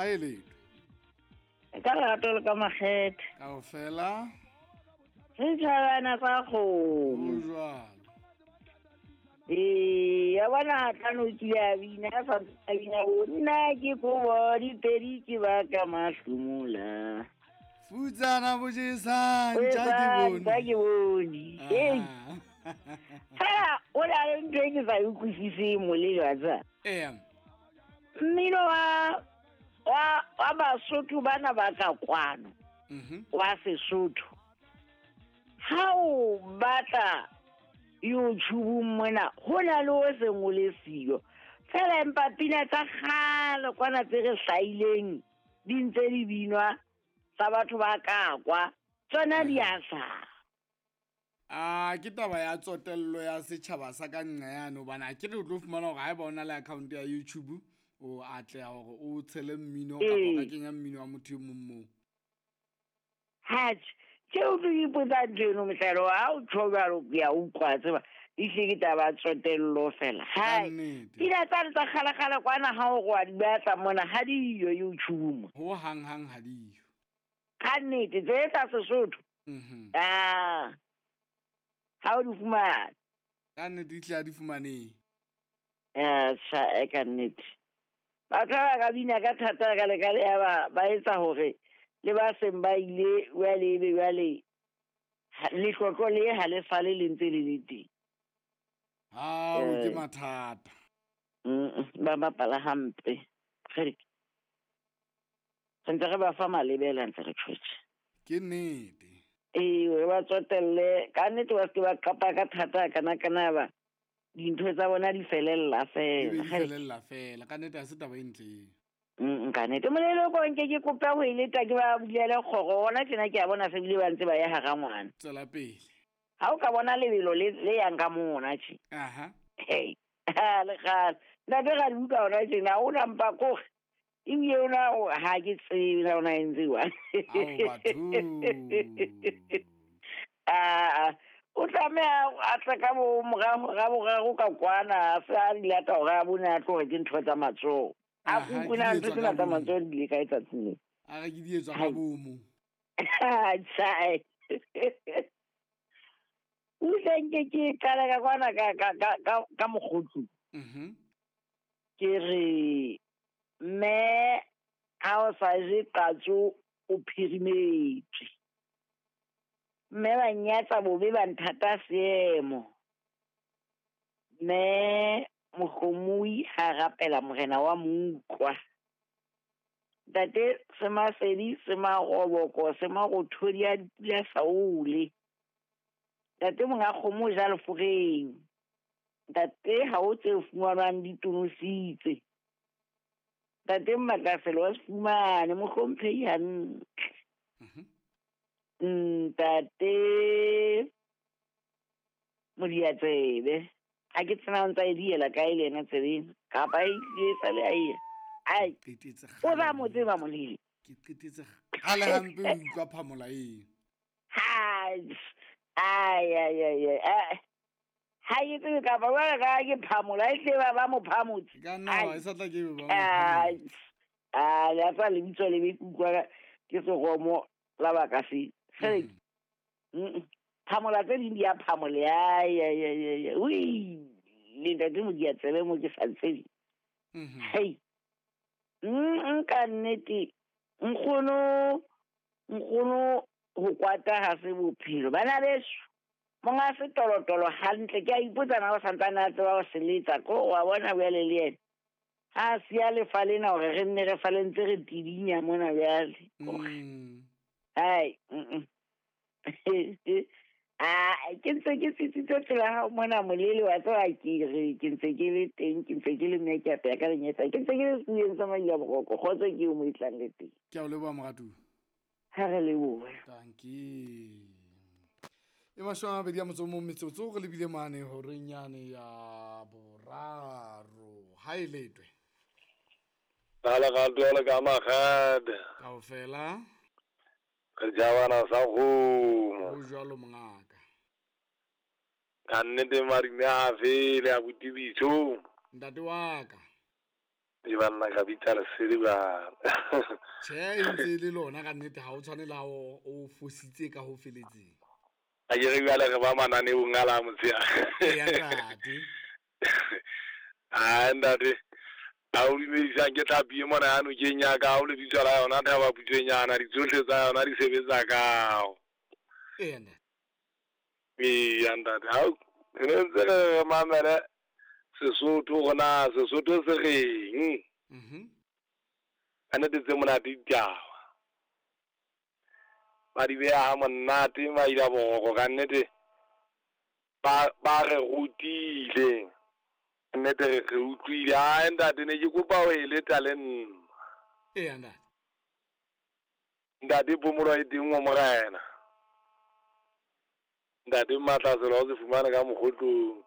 Ha e letho. Ka lerato le ka makgethe. Kaofela. Re tjhabana tsa kgomo. Ho jwalo. Ee, ya bona tlano o kile a bina, a sa a bina o nna ke kobo dipedi ke baka mahlomola. Futsana bo jesang tja ke bone. Tja ke bone. Ee. Fela o na le ntho e ke sa e utlwisiseng molelo wa tseba. Ee. Mmino wa Basotho bana ba ka kwano. Wa Sesotho. Ha o batla YouTube mona ho na le o seng o le siyo. Fela empa pina tsa kgale kwana tse re hlahileng di ntse di binwa tsa batho ba ka kwa tsona di a hlaha. A ke taba ya tsotello ya setjhaba sa ka nqa yane, hobane ha ke re o tlo fumana hore haeba o na le account ya YouTube o atleha hore o tshele mmino kapa o ka kenya mmino wa motho e mong moo. Hatjhe, ke o tlo ipotsa ntho eno mohlalo ha o tjho jwalo ke a utlwa tseba ehlile ke taba ya tsotello fela. Hai, pina tsane tsa kgale-kgale kwana ha o re wa di batla mona ha diyo YouTube mo. Ho hang hang ha diyo. Ka nnete tse tsa Sesotho. Ah. Ha o di fumane. Ka nnete ehlile ha di fumanehe. Tjha, ka nnete. Batho ba ka bina ka thata ka le ka le ya ba etsa hore le ba seng ba ile jwale ebe jwale letlotlo le ha le sale le ntse le le teng. Hao, ke mathata. Ba bapala hampe. Re ntse re ba fa malebela ntse re tjhotjhe. Ke nnete. Ee, re ba tsotelle. Ka nnete ba se ke ba qapa ka thata kana kana ba dintho tsa bona di felella fela. Di felella fela. Ka nnete ha se taba e ntle eo. Ka nnete. Molelo ko nke ke kopa ho e leta ke ba bulele kgoro. Hona tjena ke a bona se bile ba ntse ba ya hara ngwana. Tswela pele. Ha o ka bona lebelo le yang ka mona tje. Aha. Hey. Ha le kgale. Ntate ra di utlwa hona tjena, ha ona mpa kore. Ebile ona ha ke tsebe na ona e ntse jwang. Ao batho. Ah, o tlameha a tle ka bo morao, ra boraro ka kwana, a se a di lata hore a bone a tlohe ke ntho tsa matsoho. A Aha, kukuna ke ntho di etswa tsena ka tsa bomo. matsoho di ile kae tsatsing leo? A re ke di etswa ka bomo. Tjha. Utlwe nke ke qala ka kwana ka mokgotsi. Ke re mme ha o sa je qatso o phirimetswe. Mme ba nnyatsa bobe ba nthata seemo. Mme mohlomoi ha rapela morena wa mo utlwa. Ntate Semasedi, Semaroboko, Semarothodi a dipula saole. Ntate monga kgomo o ja leforeng. Ntate ha o tse fumanwang di tonositse. Ntate Mmatlaselo wa se fumane, mohlomphehi hantle. Ntate Modiatsebe. Ha ke tsena o ntsa e diela kae le yena tsebeng? Kapa e tlile e sale a eya? Ai, Qetetse o ba kgale. mo tseba molele. Ke qetetse kgale hampe ho utlwa phamola eo. Hai, ai, ai, ai, ai, ai. Ha ke tsebe kapa jwale ka ke phamola, e tle ba mo phamotse. Ka nna Ai. wa, e sa tla ke be ba mo Ai, phamotse. ai, le a tseba lebitso le be ke utlwa ka, ke seromo la baka se. Kgele. Phamola tse ding di a phamola. Ai, ai, ai, ai, ai. Ui, le ntate Modiatsebe mo ke sa tsebe. Hei. Ka nnete, nkgono ho kwata ha se bophelo. Bana beso, monga setolotolo hantle, ke a ipotsa na o santsane a tseba ho se letsa, ko wa bona bjale le yena. Ha a siya lefa lena hore re nne re sale ntse re tidinya mona bjale. Hai, Ah, ke ntse ke tsitsitse pela hao mona molele wa tseba ke re, ke ntse ke le teng, ke ntse ke le mme ke apeya ka lenyetsa, ke ntse ke le setuleng sa Maila Boroko, kgotso ke eo mo e tlang le teng. Ke a o leboha moratuwa. Ha re lebohe. Dankie. E mashome a mabedi a motso o mong metsotso re lebile mane horeng yane ya boraro. Ha e letwe. Ba le ga dole ka makgade. Kaofela. Re jabana sa kgomo. Ho jwalo mongaka. Ka nnete marine a fele a botibitso. Ntate wa ka. Di banna ka bitsa lesedi bana. Tjhe, e ntse e le lona ka nnete, ha o tshwane le ha o fositse ka ho feletseng. A ke re jwale re ba mananeong a la motshehare. Eya ntate. Ai ntate, a o dumedisang ke tlhapi e mona ya nokeng ya ka, o lebitso la yona Thaba Putswenyana, ditsohle tsa yona di sebetsa kao. Eya ntate. Eya ntate, hao re ne ntse re re mamele Sesotho hore na Sesotho se reng. Ka nnete tse monate ditaba. Ba di beha ha monate maila boroko ka nnete ba ba re rutile. Ka nnete re re utlwile. Ai ntate ne ke kopa ho e leta le nna. Eya ntate. Ntate phomolo e teng ho morena. Ntate Matlaselo o se fumane ka mokgotlong.